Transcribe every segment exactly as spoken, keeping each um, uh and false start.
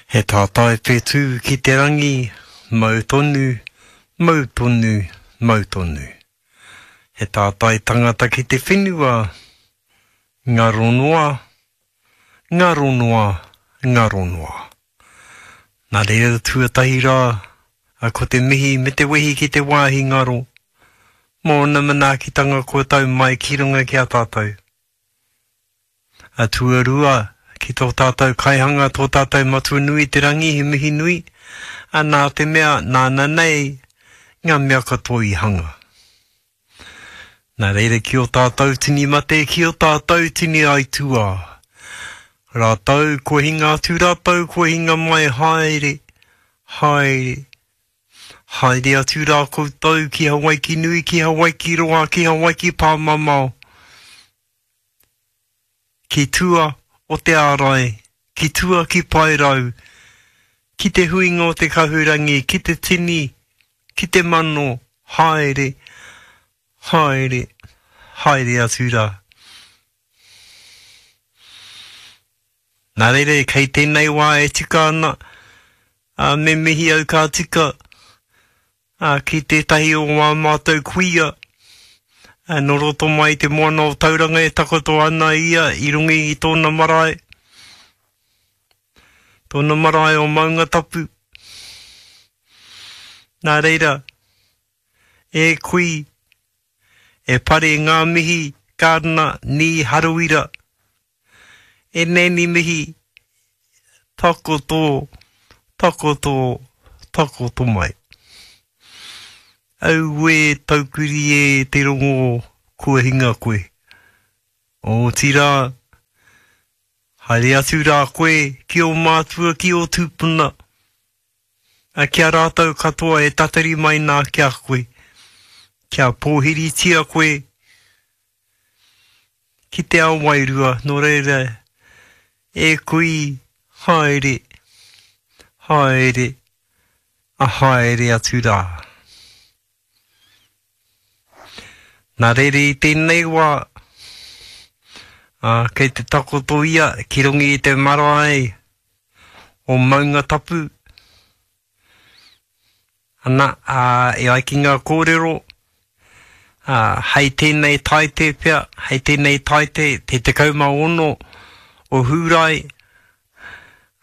He tātai whetū ki te rangi, mau tonu, mau tonu, mau tonu. He tātai tangata ki te whenua, ngaro noa, ngaro noa, ngaro noa. Nā reira tuatahi rā, a ko te mihi me te wehi ki te wāhi ngaro, mō ōna manaakitanga kua tau mai ki runga ki a tātou. A tuarua, ki tō tātou kaihanga, tō tātou Matua nui i te rangi, he mihi nui, a nā te mea, nāna nei ngā mea katoa i hanga. Nā reira ki ō tātou tini mate, ki ō tātou tini aituā. Rātou, kua hinga atu rātou, kua hinga mai, haere, haere, haere atu rā koutou ki Hawaiki nui, ki Hawaiki roa, ki Hawaiki pāmamao, ki tua o te ārai, ki tua ki Paerau, ki te huinga o te kahurangi, ki te tini, ki te mano, haere, haere, haere atu rā. Nā reira, kei tēnei wā e tika ana, ā, me mihi au ka tika, ā, ki tētahi o wā mātou kuia, ā, nō roto mai i te moana o Tauranga e takoto ana ia i runga i tōna marae, tōna marae o Maungatapu. Nā reira, e kui, e pare ngā mihi, Gardiner, Nī Harawira, e nēni mihi, takoto, takoto, takoto mai. Auē taukuri e te rongo kua hinga koe. Otirā, haere atu rā koe ki ō mātua, ki ō tūpuna, a ki a rātou katoa e tatari mai nā ki a koe, kia pōhiritia koe ki te ao wairua, nō reira, e kui, haere, haere, a haere atu rā. Nā reira i tēnei wā, ā, kei te takoto ia ki runga i te marae o Maungatapu. Ana, ā, e ai ki ngā kōrero, ā, hei tēnei taite pea, hei tēnei taite, te tekau mā ono o Hūrae,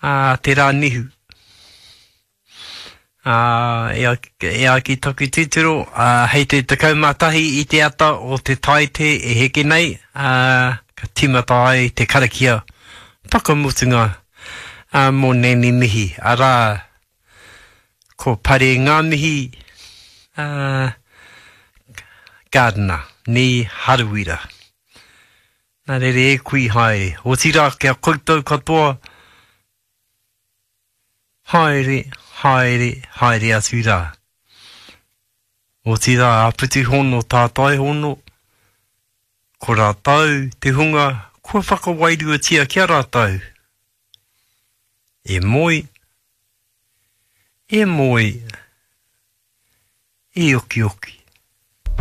ā, te rā nihu. Ā, e ai, e ai ki taku titiro, ā, hei te tekau mā tahi i te ata o te taite e heke nei, ā, ka tīmata ai te karakia whakamutunga, ā, mō Nanny Mihi, arā, ko Pare Ngā Mihi, ā, Gardiner, nī Harawira. Nā reira e kui haere, otirā ki a koutou katoa, haere, haere, haere atu rā. Otirā, āpiti hono, tātai hono, ko rātou te hunga kua whakawairuatia ki a rātou. E moe, e moe, e okioki.